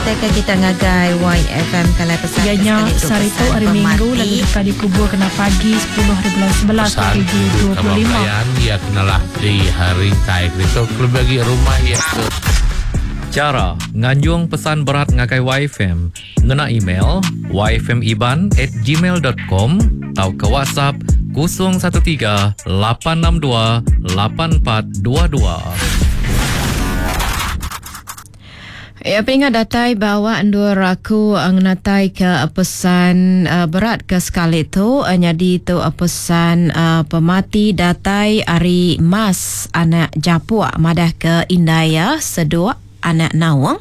Ngenatai ke kita ngagai YFM kalai pesan Iya ke nya sekali tu sehari tu pesan hari Minggu lalu pemati. deka dikubur kena pagi 10 hari bulan 11 Pesan ibu kaban 2025. belayan iya kenalah di rintai ditu kelebih agi rumah iya ke Chara nganjung pesan berat ngagai YFM ngena email yfmiban at gmail dot com tauka WhatsApp 013 862 8422. Ya, pengingat datai bawa endur aku ngenatai ke pesan berat ke sekali tu nyadi tu pesan pemati datai ari Mas anak Japuk madah ke indai iya Seduk anak Naung.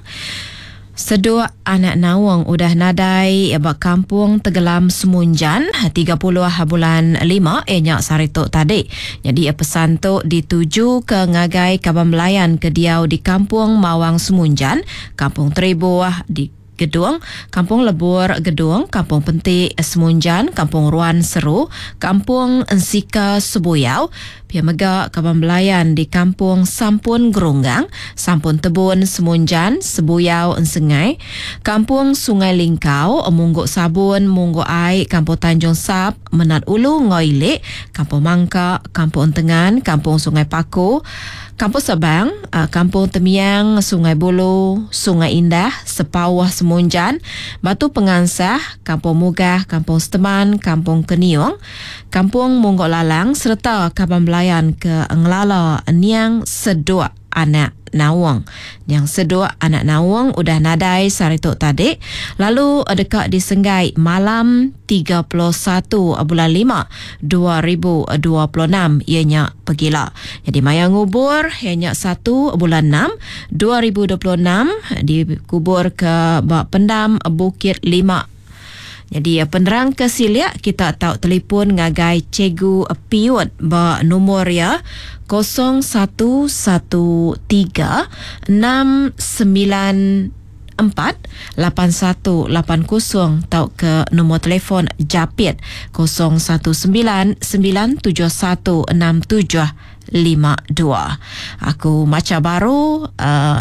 Seduk anak Naung udah nadai ba Kampung Tegelam Semunjan 30 bulan lima iya nya sehari tu tadi. Nyadi pesan tu ditujuka ngagai kaban belayan ke diau di Kampung Mawang Semunjan, Kampung Teribuh di Gedong, Kampung Lebur Gedong, Kampung Penti Semunjan, Kampung Ruan Seru, Kampung Ensika Sebuyau, Pia mega kaban belayan di Kampung Sampun Gerunggang, Sampun Tebun Semunjan, Sebuyau Ensengai, Kampung Sungai Lingkau, Munggu Sabun, Munggu Ai, Kampung Tanjung Sap, Menat Ulu enggau Ili, Kampung Mangka, Kampung Entengan, Kampung Sungai Paku, Kampung Sebang, Kampung Temiang, Sungai Bulu, Sungai Indah, Sepauh Semunjan, Batu Pengansah, Kampung Mugah, Kampung Seteman, Kampung Keniung, Kampung Munggok Lalang sereta kaban belayan ke ngelala Niang Seduk anak Naung. Niang Seduk anak Naung udah nadai sehari tu tadi lalu deka disenggai malam 31 bulan lima 2026 iya nya pegila. Nyadi maya ngubur iya nya satu bulan enam 2026 dikubur ke ba pendam Bukit Lima. Nyadi penerang ke silik kita tau telipon ngagai Cikgu Piut ba numur iya 0113 694 8180 tauka numur telefon Japit 019 971 6752. Aku macha baru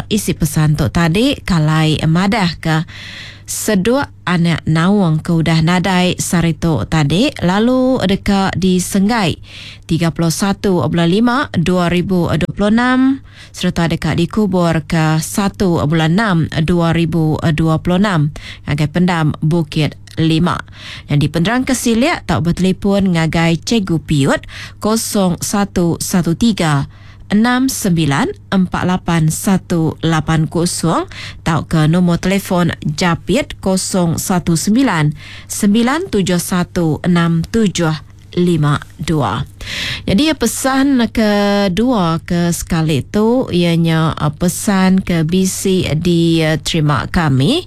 isi pesan tu tadi kalai madahka Seduk anak Naung ke udah nadai sehari tu tadi lalu deka disenggai 31 bulan lima 2026 sereta deka dikubur ke satu bulan enam 2026 ngagai pendam Bukit Lima. Nyadi penerang ke silik tau betelipon ngagai Cikgu Piut 0113 6948180 tauka nombor telefon Japit 019 971 6752. Jadi pesan kedua ke sekali tu iya nya pesan ke bisi diterima kami.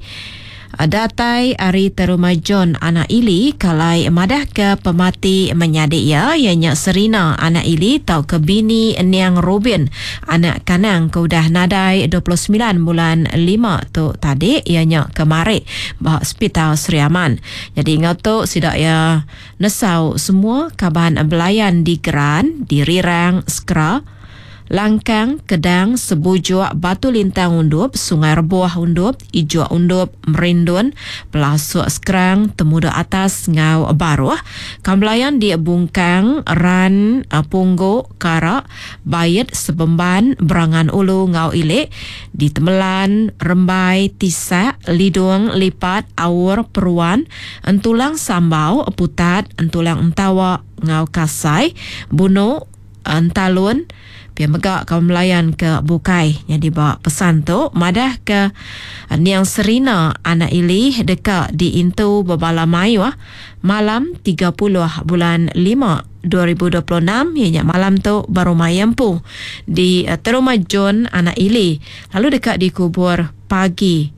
Datai ari Teruma John anak Ili kalai madahka pemati menyadi iya, iya nya Serina anak Ili tauka bini Niang Rubin anak Kanang ke udah nadai 29 bulan lima tu tadi iya nya kemari ba Sepital Sri Aman. Nyadi enggau tu sida iya nesau semua kaban belayan di Geran, di Rirang, Skra, Langkang, Kedang, Sebujuk, Batu Lintang Undup, Sungai Rebuh Undup, Ijuk Undup, Merindun, Pelasuk Skrang, Temuda Atas enggau Baruh, Kambelayan di Bungkang, Ran, Punggu, Kara, Bait, Sebemban, Berangan Ulu enggau Ili, di Temelan, Rembai, Tisak, Lidung, Lipat, Aur, Peruan, Entulang Sambau, Putat, Entulang Entawa enggau Kasai, Bunu, Entalun, pia mega kaum belayan ke bukai. Nyadi ba pesan tu madahka Niang Serina anak Ili deka diintu bebala mayuh malam 30 bulan lima 2026 iya nya malam tu ba rumah iya empu di Teruma John anak Ili lalu deka dikubur pagi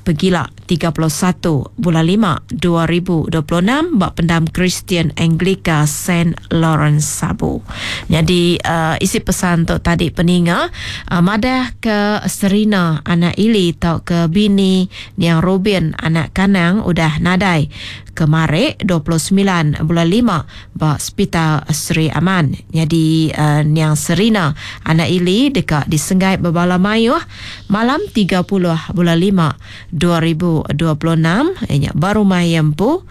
Pegila, 31 bulan lima 2026 ba Pendam Kristian Anglika Saint Lawrence Sabu. Nyadi isi pesan tu tadi peninga madah ke Serina anak Ili tauka bini Niang Rubin anak Kanang udah nadai kemari 29 bulan lima ba Sepital Sri Aman. Nyadi Niang Serina anak Ili deka disenggai bebala mayuh malam 30 bulan lima. 2026 iya nya ba rumah iya empu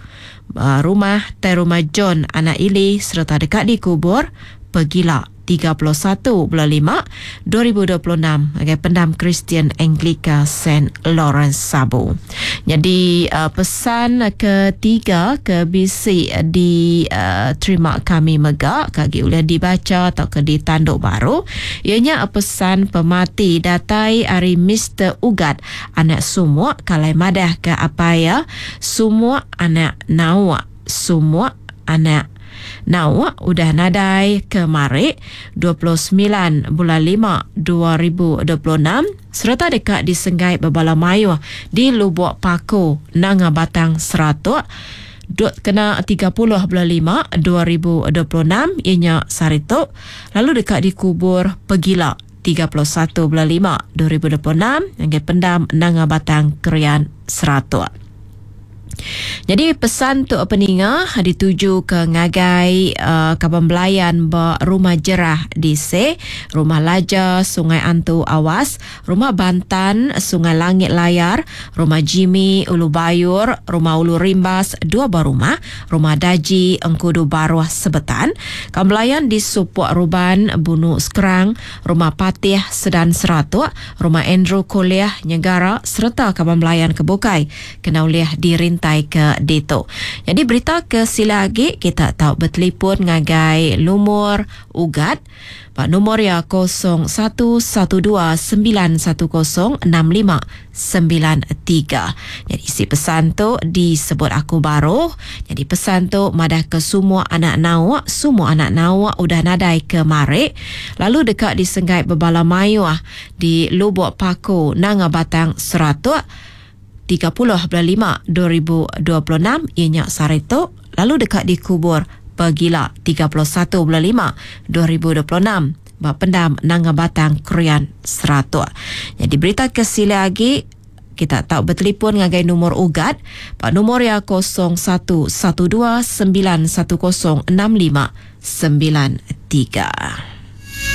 rumah Tai Rumah John Anak Ili sereta deka dikubur pegila 31 bulan 5 2026 ngagai Pendam Kristian Anglika Saint Lawrence Sabu. Nyadi pesan ketiga ke bisi diterima kami mega ke agi ulih dibacha tauka ditandu baru iya nya pesan pemati datai ari Mister Ugat anak Sumuk kalai madah ke apai iya Sumuk anak Nauk Sumuk anak Nauk udah nadai kemari 29 bulan 5 2026 sereta deka disenggai bebala mayuh di Lubok Paku Nanga Batang Seratok dut kena 30 bulan 5 2026 iya nya sehari tu lalu deka dikubur pegila 31 bulan 5 2026 ngagai pendam Nanga Batang Krian Seratok. Nyadi pesan tu peninga dituju ke ngagai uh, kaban belayan ba Rumah Jerah di Se, Rumah Laja Sungai Antu Awas, Rumah Bantan Sungai Langit Layar, Rumah Jimmy Ulu Bayur, Rumah Ulu Rimbas dua buah rumah, Rumah Daji Engkudu Baruh Sebetan, kaban belayan di Supok Ruban Bunu Skrang, Rumah Patih Sedan Seratok, Rumah Andrew Kuliah Nyegara sereta kaban belayan ke bukai kena ulih dirintai ke ditu. Nyadi berita ke sila agi kita tau betelipon ngagai lumur Ugat ba numur iya 0112910659. Nyadi isi pesan tu disebut aku baru. Nyadi pesan tu madah ke semua anak nauk, semua anak nauk udah nadai ke marik lalu deka disenggai bebala mayuh di Lubok Paku Nanga Batang Seratok 30 bulan 5 2026 iya nya sehari tu lalu deka dikubur pegila 31 bulan 5 2026 ba pendam Nanga Batang Krian Seratok. Nyadi berita ke silik agi kita tau betelipon ngagai numur Ugat ba numur iya 0112 910 6593.